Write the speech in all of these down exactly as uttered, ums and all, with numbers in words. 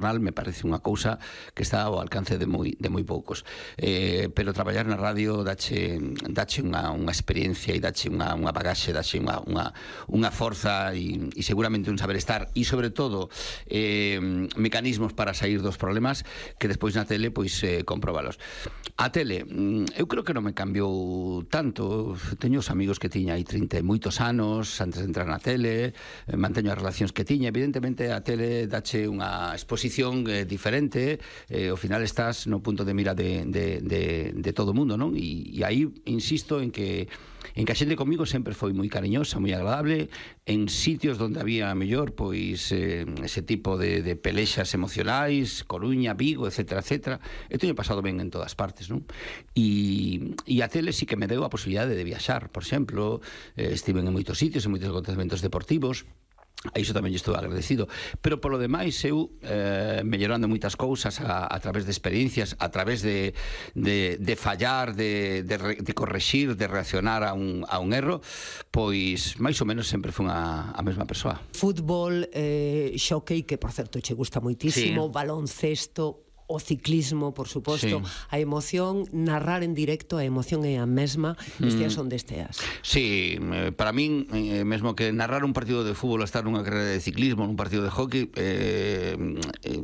me parece unha cousa que está ao alcance de moi, de moi poucos. Eh, pero traballar na radio dache, dache unha, unha experiencia e dache unha, unha bagaxe, dache unha, unha, unha forza e, e seguramente un saber estar e sobre todo eh, mecanismos para sair dos problemas que despois na tele pois eh, comprobalos. A tele, eu creo que non me cambiou tanto. Teño os amigos que tiña aí trinta e moitos anos antes de entrar na tele, eh, manteño as relacións que tiña. Evidentemente a tele dache unha exposición Eh, diferente, eh, ao final estás no punto de mira de, de, de, de todo o mundo, non? E, e aí insisto en que en que a xente comigo sempre foi moi cariñosa, moi agradable, en sitios onde había mellor pois eh, ese tipo de, de pelexas emocionais, Coruña, Vigo, etcétera, etcétera. Eu teño pasado ben en todas partes, non? E, e a tele sí que me deu a posibilidade de viaxar, por exemplo, eh, estive en moitos sitios, en moitos acontecementos deportivos. A iso tamén estou agradecido, pero polo demais eu eh, mellorando moitas cousas a, a través de experiencias, a través de, de, de fallar, de, de, de correxir, de reaccionar a un, a un erro, pois máis ou menos sempre fui a, a mesma persoa. Fútbol, eh, xockey, que por certo che gusta moitísimo, sí. Baloncesto, o ciclismo, por suposto, sí. A emoción, narrar en directo, a emoción é a mesma, esteas onde esteas. Sí, para min, eh, mesmo que narrar un partido de fútbol, estar nunha carrera de ciclismo, nun partido de hockey, eh, eh,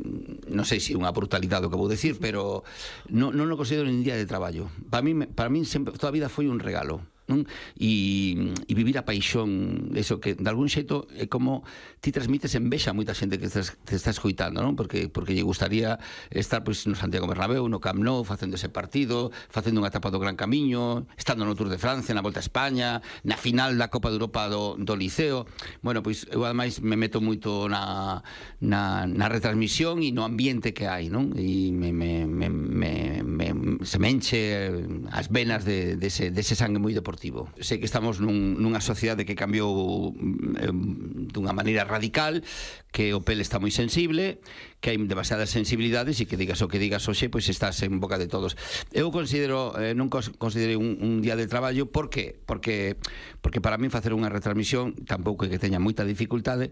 non sei se é unha brutalidade o que vou decir, pero non, non o considero nin día de traballo. Para min, para min sempre, toda a vida foi un regalo. Non? E, e vivir a paixón, eso que de algún xeito é como ti transmites envexa a moita xente que estás, te está escoitando, non? Porque, porque lle gustaría estar pois, no Santiago Bernabéu, no Camp Nou, facendo ese partido, facendo unha etapa do Gran Camiño, estando no Tour de Francia, na Volta a España, na final da Copa de Europa do, do Liceo. Bueno, pois eu ademais me meto moito na, na, na retransmisión e no ambiente que hai, non? E me, me, me, me, me, se me enche as venas de, de, ese, de ese sangue moi deportivo. Sei que estamos nun, nunha sociedade que cambiou eh, dunha maneira radical, que o pel está moi sensible, que hai demasiadas sensibilidades e que digas o que digas hoxe, pois estás en boca de todos. Eu considero, eh, non considero un, un día de traballo, por que? Porque, porque para mí facer unha retransmisión tampouco é que teña moita dificultade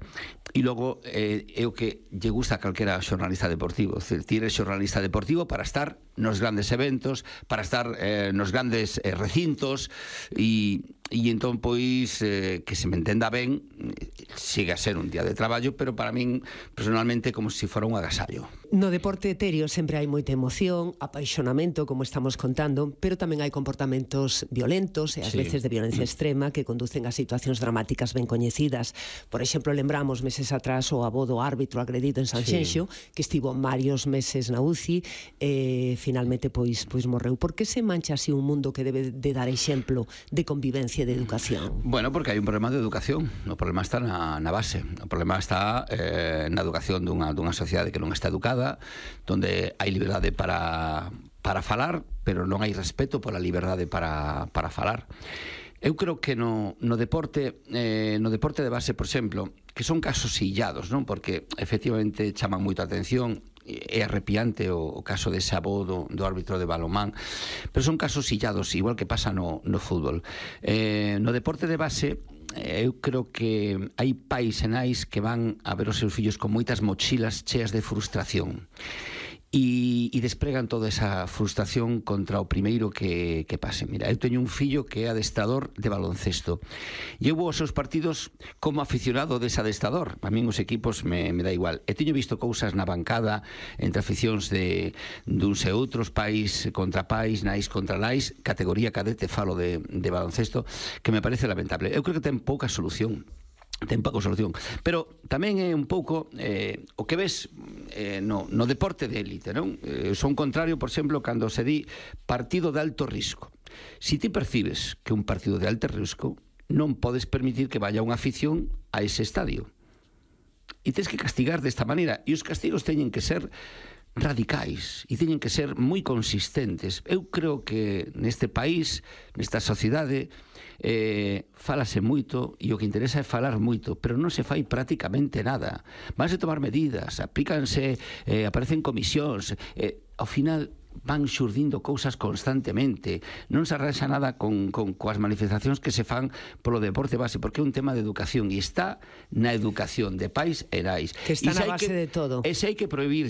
e logo eh, é o que lle gusta a calquera xornalista deportivo. É dicir, ti eres xornalista deportivo para estar nos grandes eventos, para estar eh, nos grandes eh, recintos e e entón, pois, eh, que se me entenda ben, siga a ser un día de traballo, pero para min, personalmente, como se si fora un agasallo. No deporte etéreo sempre hai moita emoción, apaixonamento, como estamos contando, pero tamén hai comportamentos violentos e ás sí. veces de violencia extrema que conducen a situacións dramáticas ben coñecidas. Por exemplo, lembramos meses atrás o avó do árbitro agredido en Sanxenxo, sí. que estivo varios meses na U C I e finalmente pois, pois morreu. Por que se mancha así un mundo que debe de dar exemplo de convivencia de educación? Bueno, porque hai un problema de educación. O problema está na, na base. O problema está eh, na educación dunha, dunha sociedade que non está educada, donde hai liberdade para, para falar, pero non hai respeto pola liberdade para, para falar. Eu creo que no, no deporte eh, no deporte de base, por exemplo, que son casos illados, non? Porque efectivamente chaman moito a atención. É arrepiante o, o caso dese avó do, do árbitro de balonmán, pero son casos illados, igual que pasa no, no fútbol. Eh, no deporte de base, eh, eu creo que hai pais e nais que van a ver os seus fillos con moitas mochilas cheas de frustración. E, e despregan toda esa frustración contra o primeiro que, que pase. Mira, eu teño un fillo que é adestrador de baloncesto e eu vou aos seus partidos como aficionado dese adestrador. A min os equipos me, me dá igual. E teño visto cousas na bancada entre aficións de duns e outros, pais contra pais, nais contra nais, categoría cadete, falo de, de baloncesto, que me parece lamentable. Eu creo que ten pouca solución. ten pouca solución, pero tamén é un pouco eh, o que ves eh, no, no deporte de élite, non? Eh, son contrario, por exemplo, cando se di partido de alto risco. Si ti percibes que un partido de alto risco, non podes permitir que vaya unha afición a ese estadio. E tens que castigar desta maneira, e os castigos teñen que ser radicais e teñen que ser moi consistentes. Eu creo que neste país, nesta sociedade, eh, falase moito e o que interesa é falar moito, pero non se fai prácticamente nada. Vanse tomar medidas, aplícanse, eh, aparecen comisións, eh, ao final van xurdindo cousas constantemente, non se arrasa nada con, con coas manifestacións que se fan polo deporte base, porque é un tema de educación e está na educación de pais e nais. Que está na base de todo. E se hai que prohibirlle